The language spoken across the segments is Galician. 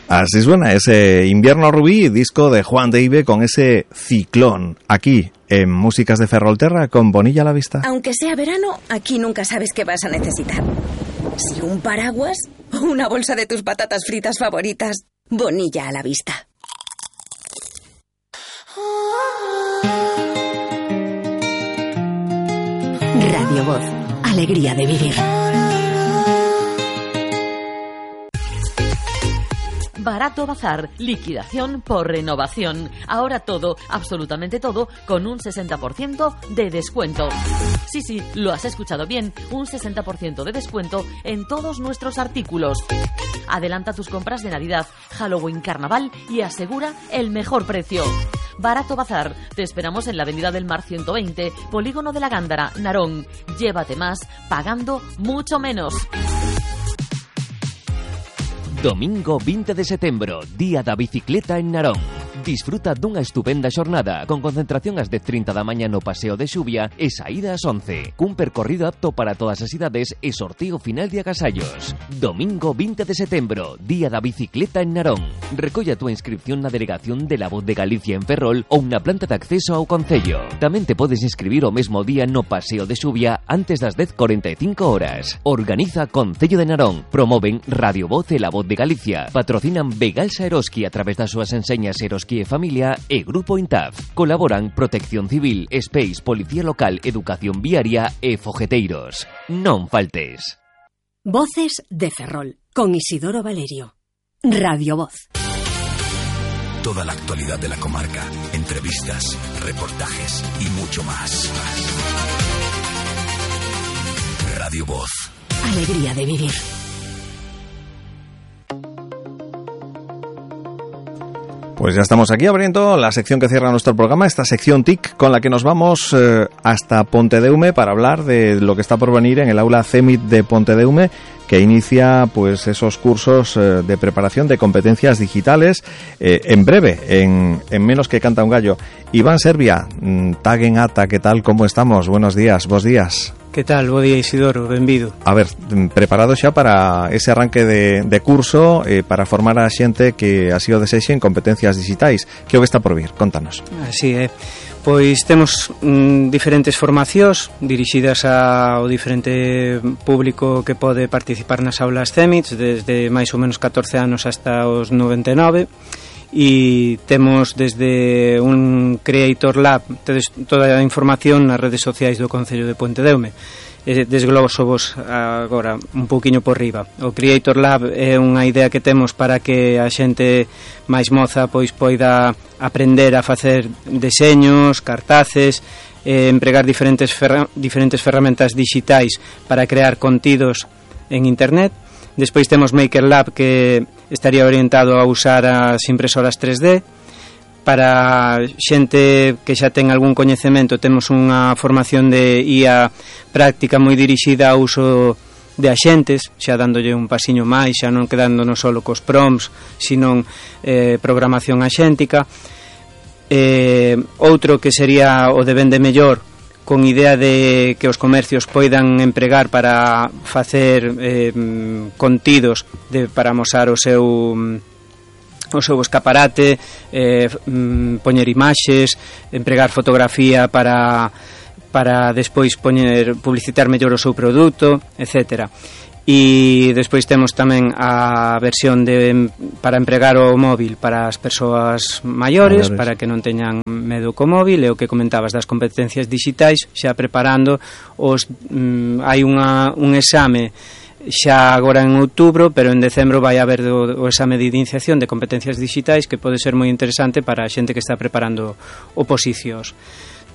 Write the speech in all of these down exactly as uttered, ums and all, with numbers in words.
Así suena ese Invierno Rubí, disco de Juan de Ibe con ese Ciclón, aquí en Músicas de Ferrolterra con Bonilla a la vista. Aunque sea verano, aquí nunca sabes qué vas a necesitar. Si un paraguas o una bolsa de tus patatas fritas favoritas, Bonilla a la vista. Radio Voz, alegría de vivir. Barato Bazar, liquidación por renovación. Ahora todo, absolutamente todo, con un sesenta por ciento de descuento. Sí, sí, lo has escuchado bien, un sesenta por ciento de descuento en todos nuestros artículos. Adelanta tus compras de Navidad, Halloween, Carnaval y asegura el mejor precio. Barato Bazar, te esperamos en la Avenida del Mar ciento veinte, Polígono de la Gándara, Narón. Llévate más, pagando mucho menos. Domingo veinte de setembro, Día da Bicicleta en Narón. Disfruta dunha estupenda xornada con concentración ás dez e trinta da mañá no Paseo de Xubia e saída ás once. Cun percorrido apto para todas as idades e sorteo final de agasallos. Domingo veinte de setembro, Día da Bicicleta en Narón. Recolla a túa inscripción na delegación de La Voz de Galicia en Ferrol ou na planta de acceso ao concello. Tamén te podes inscribir o mesmo día no Paseo de Xubia antes das dez e cuarenta e cinco horas. Organiza Concello de Narón. Promoven Radio Voz e La Voz de Galicia. Patrocinan Begalsa Eroski a través das súas enseñas Eroski e Familia e Grupo Intaf. Colaboran Protección Civil, Space, Policía Local, Educación Viaria e Fogueteiros. Non faltes. Voces de Ferrol, con Isidoro Valerio. Radio Voz. Toda la actualidad de la comarca, entrevistas, reportajes y mucho más. Radio Voz. Alegría de vivir. Pues ya estamos aquí abriendo la sección que cierra nuestro programa, esta sección T I C, con la que nos vamos eh, hasta Pontedeume para hablar de lo que está por venir en el aula CEMIT de Pontedeume, que inicia pues esos cursos eh, de preparación de competencias digitales eh, en breve, en, en menos que canta un gallo. Iván Servia, Taguen Ata, ¿qué tal? ¿Cómo estamos? Buenos días, vos días. Que tal? Bo día, Isidoro, benvido. A ver, preparado xa para ese arranque de, de curso eh, para formar a xente que así o desexe en competencias digitais. Que o que está por vir? Contanos. Así é. Pois temos mm, diferentes formacións dirixidas ao diferente público que pode participar nas aulas CEMITs, desde máis ou menos catorce anos hasta os noventa e nove. E temos desde un Creator Lab, tedes toda a información nas redes sociais do Concello de Pontedeume. Desgloso vos agora un pouquiño por riba. O Creator Lab é unha idea que temos para que a xente máis moza pois poida aprender a facer deseños, cartaces, eh, empregar diferentes ferra- diferentes ferramentas digitais para crear contidos en internet. Despois temos Maker Lab, que estaría orientado a usar as impresoras tres D. Para xente que xa ten algún coñecemento, temos unha formación de I A práctica moi dirixida ao uso de axentes, xa dándolle un pasiño máis, xa non quedándonos solo cos prompts, sino eh, programación axéntica. Eh, outro que sería o de Vende Mellor, con idea de que os comercios poidan empregar para facer eh, contidos de, para amosar o seu o seu escaparate, eh, poñer imaxes, empregar fotografía para para despois poñer publicitar mellor o seu produto, etcétera. E despois temos tamén a versión de para empregar o móvil para as persoas maiores, para que non teñan medo co móvil, e o que comentabas das competencias digitais, xa preparando os mm, hai unha, un exame xa agora en outubro, pero en decembro vai haber o, o exame de iniciación de competencias digitais, que pode ser moi interesante para a xente que está preparando oposicións.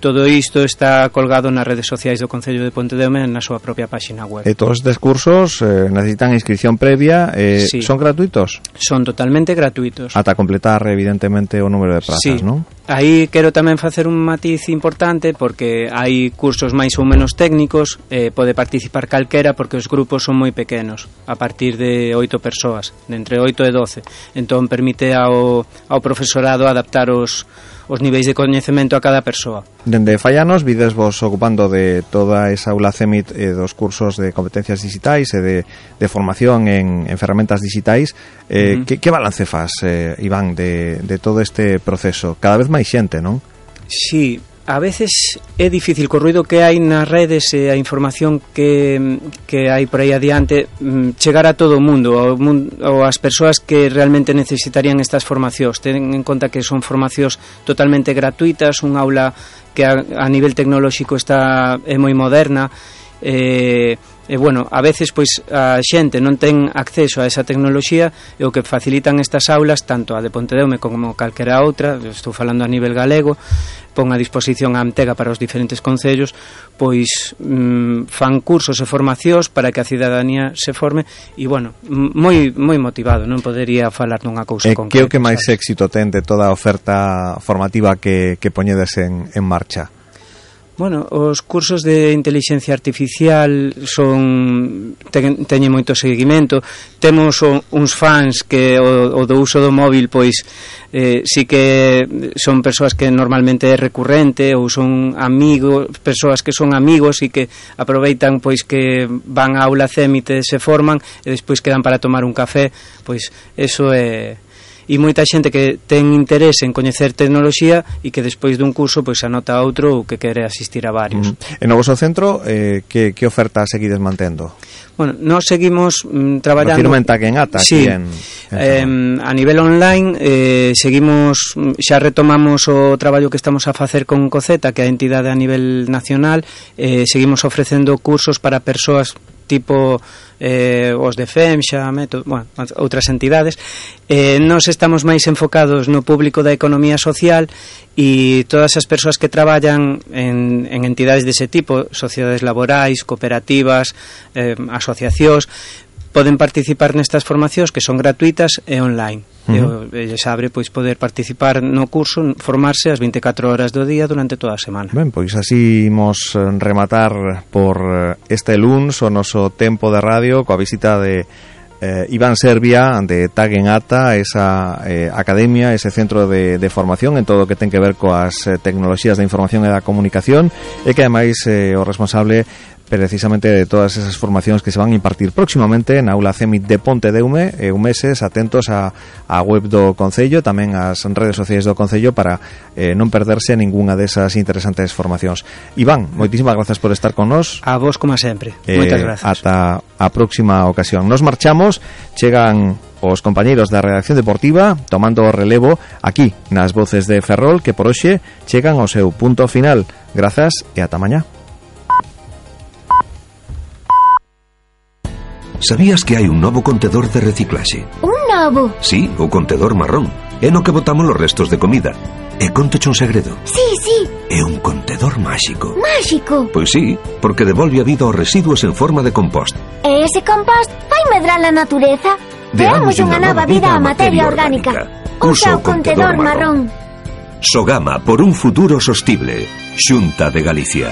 Todo isto está colgado nas redes sociais do Concello de Pontedeume na súa propia páxina web. E todos estes cursos eh, necesitan inscripción previa, eh, sí. Son gratuitos? Son totalmente gratuitos. Ata completar, evidentemente, o número de prazas, sí. Non? Aí quero tamén facer un matiz importante, porque hai cursos máis ou menos técnicos, eh, pode participar calquera, porque os grupos son moi pequenos, a partir de oito persoas, de entre oito e doce. Entón permite ao, ao profesorado adaptar os os niveis de coñecemento a cada persoa. Dende Fallanos vides vos ocupando de toda esa aula CEMIT e dos cursos de competencias digitais e de, de formación en, en ferramentas digitais. eh, uh-huh. que, que balance faz, eh, Iván, de, de todo este proceso? Cada vez máis xente, non? Sí, a veces é difícil co ruido que hai nas redes e a información que, que hai por aí adiante chegar a todo o mundo, ao mundo ou as persoas que realmente necesitarían estas formacións. Ten en conta que son formacións totalmente gratuitas, un aula que a, a nivel tecnolóxico está é moi moderna. eh, e bueno, a veces pois a xente non ten acceso a esa tecnoloxía e o que facilitan estas aulas, tanto a de Pontedeume como calquera outra, estou falando a nivel galego, pon a disposición a Amtega para os diferentes concellos, pois mm, fan cursos e formacións para que a cidadanía se forme e bueno, moi moi motivado, non podería falar dunha cousa eh, concreta. Que o que máis sabes? Éxito ten de toda a oferta formativa que, que poñedes en, en marcha? Bueno, os cursos de inteligencia artificial son ten, teñen moito seguimento. Temos o, uns fans que o, o do uso do móvil pois eh, si que son persoas que normalmente é recurrente ou son amigos, persoas que son amigos e que aproveitan pois que van á aula CEMIT e se forman e despois quedan para tomar un café, pois eso é. E moita xente que ten interese en coñecer tecnoloxía e que despois dun curso pois anota outro ou que quere asistir a varios. Mm. En o vosso centro, eh, que, que oferta seguides mantendo? Bueno, nós seguimos mm, traballando... Refirme en Taquenata, sí, aquí en... eh, en a nivel online eh, seguimos, xa retomamos o traballo que estamos a facer con COCETA, que é a entidade a nivel nacional. eh, seguimos ofrecendo cursos para persoas tipo eh, os de FEMXA, método, bueno, outras entidades. Eh, nós estamos máis enfocados no público da economía social e todas as persoas que traballan en, en entidades dese tipo, sociedades laborais, cooperativas, eh, asociacións, poden participar nestas formacións que son gratuitas e online. Uh-huh. E lles abre pois poder participar no curso, formarse as vinte e catro horas do día durante toda a semana. Ben, pois así imos rematar por este luns o noso tempo de radio coa visita de eh, Iván Servia de Taquenata, esa eh, academia, ese centro de, de formación en todo o que ten que ver coas eh, tecnoloxías da información e da comunicación, e que ademais eh, o responsable precisamente de todas esas formacións que se van a impartir próximamente na aula CEMIT de Pontedeume. E un meses atentos a, a web do Concello, tamén ás redes sociais do Concello para eh, non perderse ningunha desas interesantes formacións. Iván, moitísimas grazas por estar con nós. A vos como sempre, eh, moitas grazas. Ata a próxima ocasión. Nos marchamos, chegan os compañeiros da redacción deportiva tomando o relevo aquí nas voces de Ferrol, que por hoxe chegan ao seu punto final. Grazas e ata mañá. Sabías que hai un novo contedor de reciclaxe? Un novo? Sí, o contedor marrón. É no que botamos os restos de comida. E contoche un segredo. Sí, sí. É un contedor máxico. Máxico? Pois sí, porque devolve a vida aos residuos en forma de compost. E ese compost vai medrar a natureza? Deamos unha nova vida á materia orgánica. Usa o contedor marrón. Sogama por un futuro sostible. Xunta de Galicia.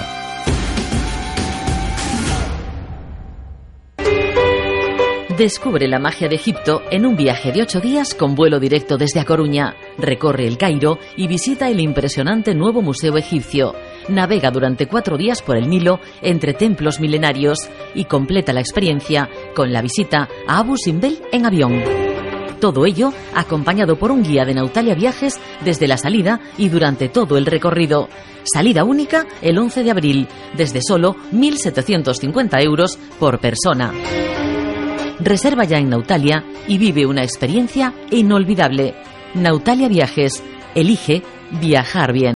Descubre la magia de Egipto en un viaje de ocho días con vuelo directo desde A Coruña. Recorre el Cairo y visita el impresionante nuevo museo egipcio. Navega durante cuatro días por el Nilo entre templos milenarios y completa la experiencia con la visita a Abu Simbel en avión. Todo ello acompañado por un guía de Nautalia Viajes desde la salida y durante todo el recorrido. Salida única el once de abril, desde solo mil setecientos cincuenta euros por persona. Reserva ya en Nautalia y vive una experiencia inolvidable. Nautalia Viajes. Elige viajar bien.